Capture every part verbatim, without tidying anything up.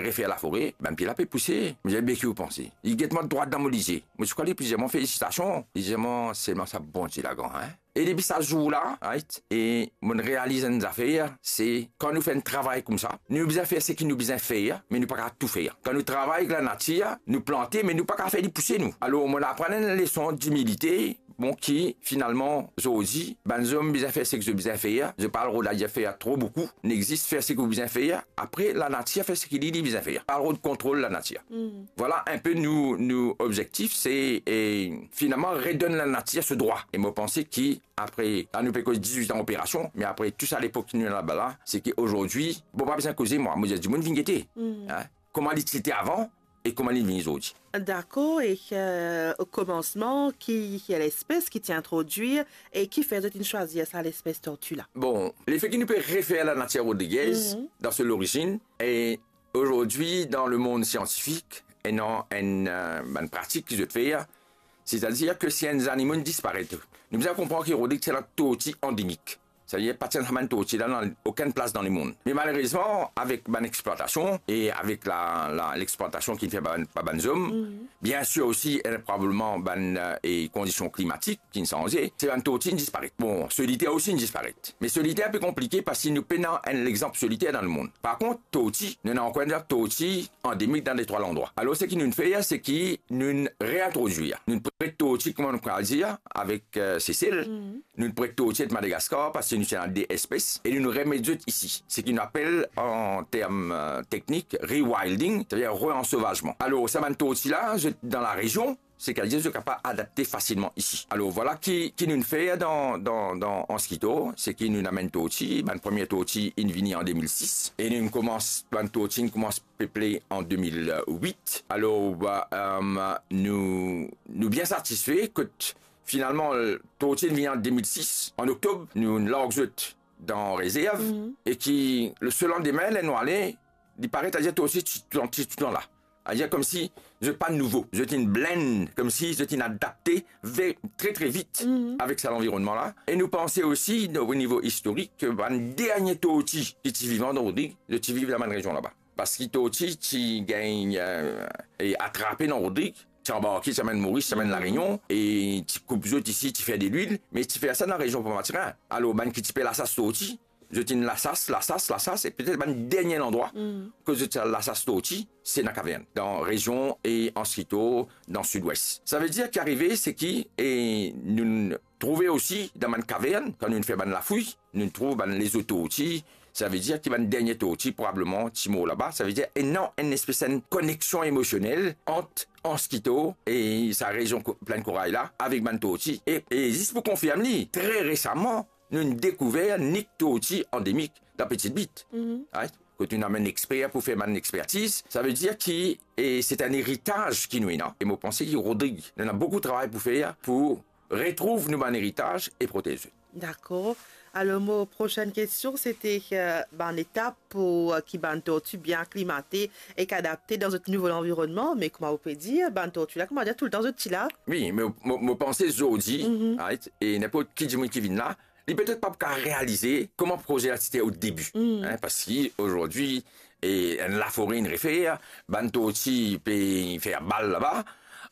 refer lafore, bann pie la pe pouse. Mo dir, be ki ou panse? Li get mwa drwat dan mo lizie. Mo ti krwar li pou dir mwa, felisitasion. Li dir mwa, selman sa Bondie la gran, hein? E depi sa zour la, right, e mo realiz enn zafer, se kan nou fer enn travay koumsa, nou bizin fer seki nou bizin fer, me nou pa kapav tou fer. Kan nou travay ek lanatir, nou plante, me nou pa kapav fer li pouse nou. Alor, mo aprann enn leson dimilite, bon, ki finalman, zordi, bann zom bizin fer seki zot bizin fer, zot pa al rod ayer fer tro boukou, nek zis fer seki ou bizin fer, apre lanatir fer seki li, li bizin fer. Pa al rod kontrol lanatir. Vwala enpe nou, nou obzektif, se, e, finalman, redonn lanatir so drwa. E mo panse ki apre, la nou pe koz dizwit an operasion, me apre tou sa lepok ki nou ena laba la, se ki azordi, bon, pa bizin koze mwa, mo dir, dimoun vinn gete. Hein? Kouma li ti ete avan e kouma li vinn zordi. Dakor, e, euh, o komansman, ki, ki lespes ki ti introdwir e kifer zot inn swazir sa lespes torti la? Bon, lefe ki nou pe refer lanatir Rodriguez dan so lorizinn, e azordi, dan lemond siantifik, ena enn, euh, bann pratik ki zot fer, setadir ki si enn zanimo inn disparet, nou bizin konpran ki Rodrig ti ena torti andemik. Setadir pa ti ena sa bann torti la dan okenn plas dan lemond. Me malerezman, avek bann explwatasion e avek la, la, lexplwatasion ki fer pa bann, pa bann zom, biensir osi, e probableman bann, euh, e kondision klimatik ki inn sanze, se bann torti inn disparet. Bon, soliter osi inn disparet. Me soliter inpe konplike parski nou pena enn lexanp soliter dan lemond. Par kont, torti, nou ena ankor enn torti andemik dan detrwa landrwa. Alor, seki nou'nn fer, se ki nou'nn reintrodwir. Nou'nn pret torti, kouma nou pe dir, avek, euh, Sesel. Nou'nn pret torti ek Madagaskar, parski nou ti ena de espes, e nou'nn remet zot isi. Seki nou apel, an term, euh, teknik, rewilding, setadir reansovazman. Alor, sa bann torti la, zot dan larezion, setadir zot kapav adapte fasilman isi. Alor, vwala ki, ki nou'nn fer dan, dan, dan Anse Quito, se ki nou'nn amenn torti, bann premie torti inn vini an de mil sis, e nou'nn koumans, bann torti inn koumans peple an de mil wit. Alor, ba, euh, nou, nou bien satisfe kot finalman, torti inn vini an de mil sis, an oktob, nou'nn larg zot dan rezerv, e ki le, so landime, ler nou ale, li paret, setadir torti ti, ti, ti, ti la. Setadir koumsi zot pa nouvo, zot inn blend, koumsi zot inn adapte ve-, tre, tre vit avek sa lanvironnman la. E nou panse osi, o nivo istorik, ki bann dernie torti ki ti vivan dan Rodrig, zot ti viv dan bann rezion laba. Parski torti ti gagn, euh, e atrape dan Rodrig, ti anbarke, ti amenn Moris, ti amenn Larezion, e ti koup zot isi, ti fer delwil, me ti fer sa dan rezion Port Mathurin. Alor, bann ki ti pe lasas torti, zot inn lasas, lasas, lasas, e petet bann dernie landrwa kot zot ti al lasas torti, se dan kavern, dan rezion e Anse Quito, dan Sidwes. Savedir ki arive, se ki, e, nou trouve osi dan bann kavern, kan nou fer bann lafouy, nou trouv bann lezot torti, savedir ki bann dernie torti probableman ti mor laba, savedir ena enn espes enn koneksion emosionel ant Anse Quito e sa rezion ko-, Plinn Koray la, avek bann torti. E, e zis pou konfirm li, tre resaman, nou dekouver nek torti andemik dan Petite Bite. Right? Kot nou amenn exper pou fer bann expertiz, savedir ki, e, se enn eritaz ki nou ena. E mo panse ki Rodrig, nou ena boukou travay pou fer pou retrouv nou bann eritaz e protez zot. Dakor. Alor, mo prosenn kestion, se te, euh, bann etap pou, euh, ki bann torti bien aklimate ek adapte dan zot nouvo lanvironnman, me kouma ou pe dir, bann torti la, kouma dir, toultan zot ti la. Wi, me mo, mo panse zordi, right, e ninport ki dimoun ki vinn la, li petet pa pou kapav realize kouma proze la ti ete o debi, hein, parski zordi, e, enn lafore inn refer, bann torti pe fer bal laba.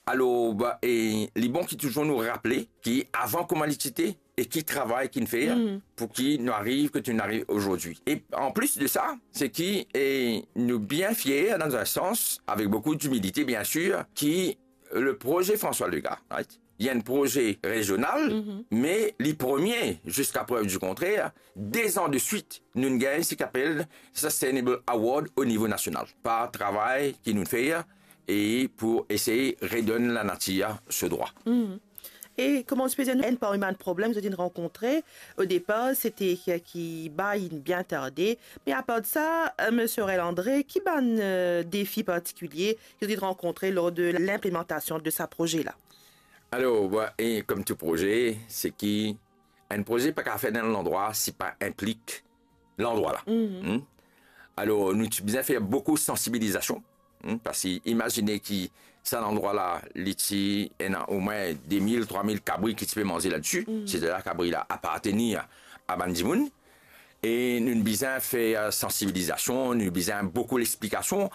Alor, ba, e, li bon ki touzour nou raple ki avan kouma li ti ete, e ki travay ki'nn fer pou ki nou ariv kot nou ariv zordi. E anplis de sa, se ki, e, nou bien fier, dan enn sans, avek boukou dimilite, biensir, ki le proze François Legaye, right, li enn proze rezional, me li premie, ziska prev di kontrer, de zan de swit, nou gagn seki apel Sustainable Award o nivo nasional, par travay ki nou fer, e pou esey redonn lanatir so drwa. E kouma ou ti pe dir nou, enn parmi bann problem zot inn rankontre, o depar, se te ki, ki bay inn bien tarde. Me apar de sa, euh, Misie Aurel André, ki bann, euh, defi partikilie ki zot inn rankontre lor de linplimantasion de sa proze la? Alor, bon, e kouma tou proze, se ki enn proze pa kapav fer dan enn landrwa si pa inplik landrwa la. Alor, nou ti bizin fer boukou sansibilizasion, parski imazine ki sa landrwa la, li ti ena omwin de mil, trwa mil kabri ki ti pe manze ladsi, setadir kabri la apartenir a bann dimoun. E nou bizin fer sansibilizasion, nou bizin boukou lexplikasion,